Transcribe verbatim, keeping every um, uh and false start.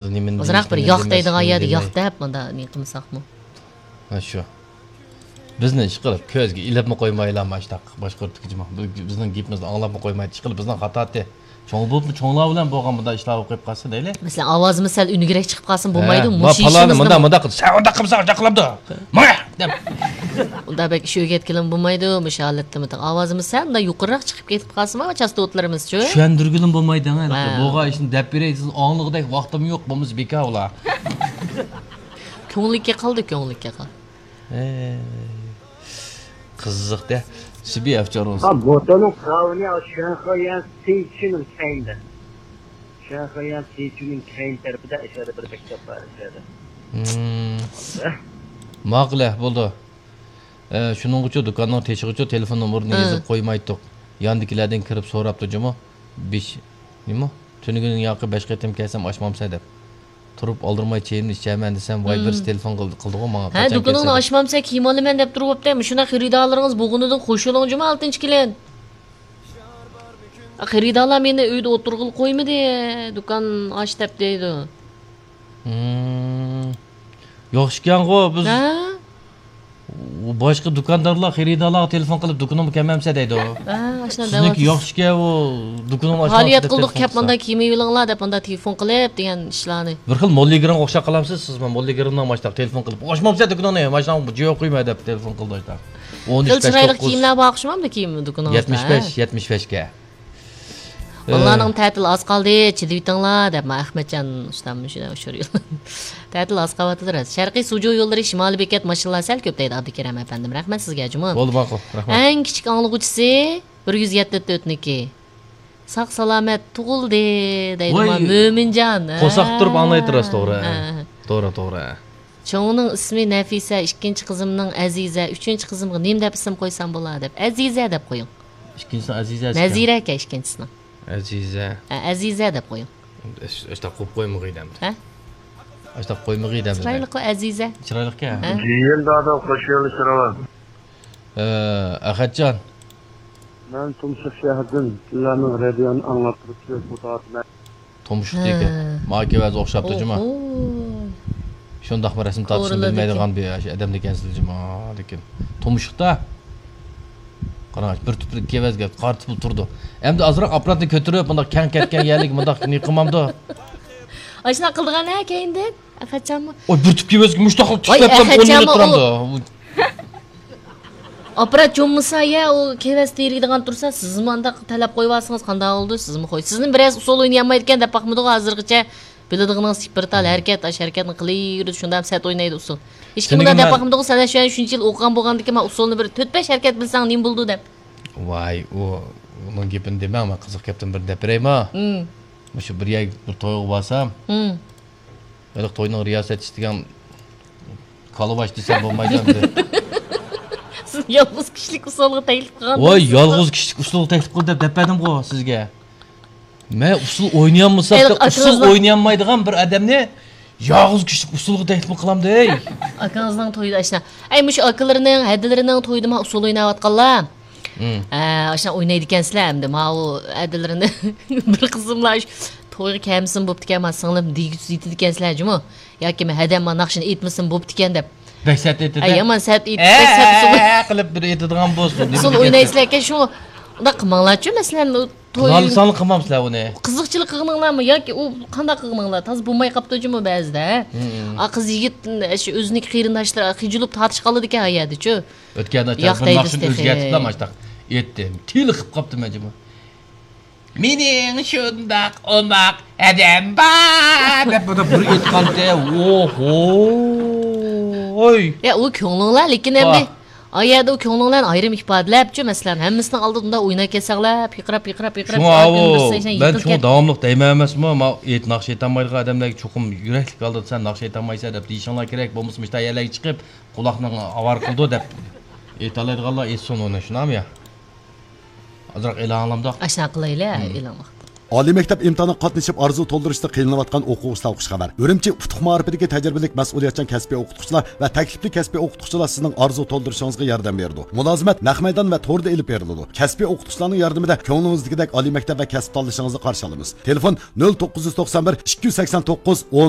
نېمىنى ئازراق بىر دېيىشنى، ياق نېمە دەيدىغان يەردە دېمەي. ياق دەپ، مۇنداق نېمە قىلمىساقمۇ؟ ھە، شۇ. بىزنى ئىشقىلىپ كۆزگە ئىلىپمۇ قويمايلا، ماشتاق باشقۇرتقۇچىمۇ. بىز، بىزنىڭ گېپىمىزنى ئاڭلاپمۇ قويمايدۇ. ئىشقىلىپ بىزنىڭ خاتاتى. چوڭ بولۇپمۇ، چوڭلار بىلەن بولغان مۇنداق ئىشلار بولۇپ قالسا دەيلى. مەسىلەن، ئاۋازىمىز سەل ئۈنۈكرەك چىقىپ قالسىمۇ بولمايدۇ، ھە، مۇشۇ ماپالانى ئىشىمىزنىمۇ مۇنداق، مۇنداق قىلدى، سەن ئۇنداق قىلمىساڭ، ئۇنداق قىلامدۇ؟ ماڭە! دەپ. ئۇنداق بەك ئىش ئۆگەتكىلىمۇ بولمايدۇ، مۇشۇ ھالەتتىمۇ. ئاۋازىمىز سەل مۇنداق يۇقىرىراق چىقىپ كېتىپ قالسىمۇ، چاستوتىلىرىمىزچۇ؟ چۈشەندۈرگىلىمۇ بولمايدۇ، ھە. ھە. بولغان ئىشنى دەپ بېرەي، سىز ئاڭلىغۇدەك ۋاقتىمۇ يوق، بولمىسا بىكار ئۇلار. كۆڭلىككە قالدى، كۆڭلىككە قالدى. ئەي، قىزىق-دە. سۈبى ئەفچارۇز. 啊，摩托路高，你要选好沿市区能开的，选好沿市区能开的，不带说的，不是被叫发的，说的。 ماقۇل، بولدى. ئە، شۇنىڭغىچۇ دۇكاننىڭ تېشىغىچۇ تېلېفون نومۇرىنى ھە. يېزىپ قويمايتتۇق. ياندىكىلەردىن كىرىپ سوراپتۇ جۇمۇ. بىش، نېمە؟ تۈنۈگۈن ياقى بەش قېتىم كەلسەم ئاچمامسەن دەپ. تۇرۇپ ئالدىرىماي چېيىمنى ئىچەرمەن دېسەم، ۋاي، بىرسى تېلېفون قىلدى، قىلدىغۇ ماڭا، ھە، قاچان دۇكىنىڭنى كەلسە دەپ. ئاچمامسەن، كىيىم ئالىمەن دەپ تۇرۇۋاپتۇ. مۇشۇنداق خېرىدارلىرىڭىز بولغىنىدىن خوش بولۇڭ جۇمۇ، ئالتىنچى كېلىن. خېرىدارلار مېنى ئۆيدە ئولتۇرغىلى قويمىدى، دۇكان ئاچ دەپ دەيدۇ. مم. ياخشىكەنغۇ، بىز ھە؟ باشقا دۇكاندارلار خېرىدارلارغا تېلېفون قىلىپ، دۇكىنىمغا كەلمەمسە دەيدۇ. ھە، ئاشۇنداق سىزنىڭكى دەۋاتىسىز. ياخشىكەن، ئۇ دۇكىنىمنى ئاچمامسىز پائالىيەت دەپ قىلدۇق، تېلېفون كەپ قىلسا. مۇنداق كىيىم ئېلىۋېلىڭلار دەپ مۇنداق تېلېفون قىلىپ دېگەن ئىشلارنى. بىر خىل موللىگىرىمغا ئوخشاپ قالامسىز سىزمۇ؟ موللىگىرىمنىڭ ماشۇنداق تېلېفون قىلىپ، ئاچمامسەن دۇكىنىڭنى، ماشۇنداق جىيو قويما دەپ تېلېفون قىلدى ئاشۇنداق. ئون ئۈچ، خېلى چىرايلىق بەش توققۇز. كىيىملەر بار ئوخشىمامدۇ كىيىم دۇكىنىڭىزدا؟ يەتمىش بەش، ھە؟ يەتمىش بەشكە. ئاللانىڭ تەتىلى ئاز قالدى، چىدىۋېتىڭلار دەپ، مانا ئەخمەتجان ئۇستام مۇشۇ ئۇچۇر يوللىدى. تەتىل ئاز قالىۋاتىدۇ راست. شەرقىي سۇجۇ يوللىرى شىمالىي بېكەت ماشىنىلار سەل كۆپ دەيدۇ، ئابدۇكېرەم ئەپەندىم. رەھمەت سىزگە جۇمۇ. بولدى، ماقۇل. رەھمەت. ئەڭ كىچىك ئاڭلىغۇچىسى بىر يۈز يەتتە تۆتنىڭكى. ساق سالامەت تۇغۇلدى دەيدۇ، ۋاي، ما، مۆمىنجان. قورساق تۇرۇپ ئاڭلايتتى راست، توغرا. ھە، ھە. توغرا، توغرا. چوڭىنىڭ ئىسمى نەفىسە، ئىككىنچى قىزىمنىڭ ئەزىزە، ئۈچىنچى قىزىمغا نېمە دەپ ئىسىم قويسام بولا دەپ، ئەزىزە دەپ قويۇڭ. ئىككىنچىسى ئەزىزە ئىكەن. نەزىرە ئىكەن ئىككىنچىسىنىڭ. ئەزىزە. ھە، ئەزىزە دەپ قويۇڭ. ئاشتاق قويۇپ قويمىغىي دەمدى. ھە؟ ئاشتاق قويمىغىي دەمدى. چىرايلىققۇ ئەزىزە. چىرايلىقكەن. ھە؟ جىيەن دادا خوش كەلدىڭىز. ئە، ئەخەتجان. مەن تۇمشۇق شەھىرىدىن سىلەرنىڭ رادىيونى ئاڭلاپ تۇرۇپ كۆپ بولدى. تۇمشۇقتىكى. ھە. ماڭا كېۋەز ئوخشاپتۇ جۇما. ئوھو. شۇنداقمۇ رەسىم تارتىشنى بىلمەيدىغان بىر ئادەم ئىكەنسىز جۇما، لېكىن. تۇمشۇقتا. قاراڭ، بىر تۈپلۈك كېۋەزگە قارىتىپ تۇرىدۇ. ئەمدى ئازراق ئاپپاراتنى كۆتۈرۈپ، مۇنداق كەڭ كەتكەن يەرلىك مۇنداق نېمە قىلمامدۇ؟ ئاشۇنداق قىلىدىغان ھە كەينىدىن. ئەخەتجانمۇ. ئوي، بىر تۈپ كېۋەزگە مۇشتاقلا ۋاي، تۇتۇپ ئەخەتجانمۇ ئون مىنۇت ئۇ تۇرامدۇ؟ ئاپپارات جوممىسا يا، ئۇ كېۋەز تېرىيدىغان تۇرسا، سىزمۇ ئانداق تەلەپ قويۇۋالسىڭىز قانداق بولىدۇ؟ سىزمۇ قوي. سىزنى بىرەرسى ئۇسسۇل ئوينىيالمايدىكەن دەپ باقمىدىغۇ ھازىرغىچە. بىلىدىغىنىڭىز بىر تال ھەرىكەت، ئاشۇ ھەرىكەتنى قىلىۋېرىدۇ، شۇنداق سەت ئوينايدۇ ئۇسسۇل. ھېچكىم ئۇنداق دەپ باقمىدىغۇ، سەن شۇ شۇنچە يىل ئوقۇغان بولغاندىكىن، مانا ئۇسسۇلنى بىر تۆت بەش ھەرىكەت بىلسەڭ نېمە بولىدۇ دەپ. ۋاي، ئۇ، ئۇنىڭ گېپىنى دېمەڭ، مەن قىزىق گەپتىن بىرنى دەپ بېرەيمۇ؟ مم. مۇشۇ بىر يەر، بىر تويغا بارسام، مم. ھېلىقى توينىڭ رىياسەتچىسى دېگەن كالىۋاش دېسەم بولمايدۇ ئەمدى. سىز يالغۇز كىشىلىك ئۇسسۇلغا تەكلىپ قىلغان. ۋاي، يالغۇز كىشىلىك ئۇسسۇلغا تەكلىپ قىل دەپ دەپ بەردىمغۇ سىزگە. مەن ئۇسسۇل ئوينىيالمىسام، ھېلىقى ئۇسسۇل ئاكىڭىزنىڭ ئوينىيالمايدىغان بىر ئادەمنى يالغۇز كىشىلىك ئۇسسۇلغا تەكلىپ قىلامدۇ، ھەي. ئاكىڭىزنىڭ تويىدا ئاشۇنداق. ئەي، مۇشۇ ئاكىلىرىنىڭ، ھەدىلىرىنىڭ تويىدا ما ئۇسسۇل ئويناۋاتقانلار. مم. ئە، ئاشۇنداق ئوينايدىكەنسىلەر ئەمدى. ماۋۇ ھەدىلىرىنى بىر قىزىملار شۇ تويغا كەلمىسىمۇ بوپتىكەن، ما سىڭلىم دېگۈسىز ئېيتىدىكەنسىلەر جۇمۇ. ياكى مەن ھەدەم ما ناخشىنى ئېيتمىسىمۇ بوپتىكەن دەپ. بەك سەت ئېيتىدۇ. ئە، يامان سەت ئېيتىپ، بەك سەت ئۇسسۇل ئە، قىلىپ بىر ئېيتىدىغان بولسۇن. ئۇسسۇل ئوينايسىلەركەن، شۇ ئۇنداق قىلماڭلارچۇ، مەسىلەن، ئۇ توي قىلالىساڭلار قىلمامسىلەر ئۇنى؟ قىزىقچىلىق قىلغىنىڭلارمۇ ياكى ئۇ قانداق قىلغىنىڭلار؟ تازا بولماي قاپتۇ جۇمۇ بەزىدە. مم. ئا، قىز يىگىت، شۇ ئۆزىنىڭ قېرىنداشلىرى قىيجىلىپ تارتىشىپ قالىدىكەن ھايادىچۇ. ئۆتكەندە ياق تېلېفون دەيدۇ ناخشىنى تېخى. ئۆزگەرتىپلا ماشتاق ئېيتتىم. تېلىقىپ قاپتىمەن جۇمۇ. مېنىڭ شۇنداق ئوماق ھەدەم بار دەپ بۇنى بىر ئېيتقانتى. ئوھوي. يا، ئۇ كۆڭلۈڭلار، لېكىن ئەمدى ئا يەردە ئۇ كۆڭلۈڭلارنى ئايرىم ئىپادىلەپچۇ، مەسىلەن، ھەممىسىنىڭ ئالدىدا ئۇنداق ئويناپ كەتسەڭلار، پىقىراپ، پىقىراپ، پىقىراپ، شۇڭا ئاۋۇ، مەن شۇڭا داۋاملىق دەيمەن ئەمەسمۇ، ماۋۇ ئېيت ناخشا ئېيتالمايدىغان ئادەملەرگە چوقۇم يۈرەكلىك ھالدا سەن ناخشا ئېيتالمايسەن دەپ دېيىشىڭلار كېرەك، بولمىسا مۇشۇنداق يەرلەرگە چىقىپ قۇلاقنىڭ ئاۋارە قىلىدۇ دەپ ئېيتالايدىغانلار ئېيتسۇن ئۇنى، شۇنداقمۇ يا؟ ئازراق ئېلان ئالامدۇق؟ ئاشۇنداق قىلايلى، ھە، ئېلان ۋاقتى. ئالىي مەكتەپ ئىمتىھانىغا قاتنىشىپ ئارزۇ تولدۇرۇشتا قىينىلىۋاتقان ئوقۇغۇچىلارغا خۇش خەۋەر. ئۈرۈمچى ئۇتۇق مائارىپىدىكى تەجرىبىلىك مەسئۇلىيەتچان كەسپىي ئوقۇتقۇچىلار ۋە تەكلىپلىك كەسپىي ئوقۇتقۇچىلار سىزنىڭ ئارزۇ تولدۇرۇشىڭىزغا ياردەم بېرىدۇ. مۇلازىمەت نەق مەيدان ۋە توردا ئېلىپ بېرىلىدۇ. كەسپىي ئوقۇتقۇچىلارنىڭ ياردىمىدە كۆڭلىڭىزدىكىدەك ئالىي مەكتەپ ۋە كەسىپ تاللىشىڭىزنى قارشى ئالىمىز. تېلېفون: نۆل توققۇز يۈز توقسان بىر، ئىككى يۈز سەكسەن توققۇز، ئون.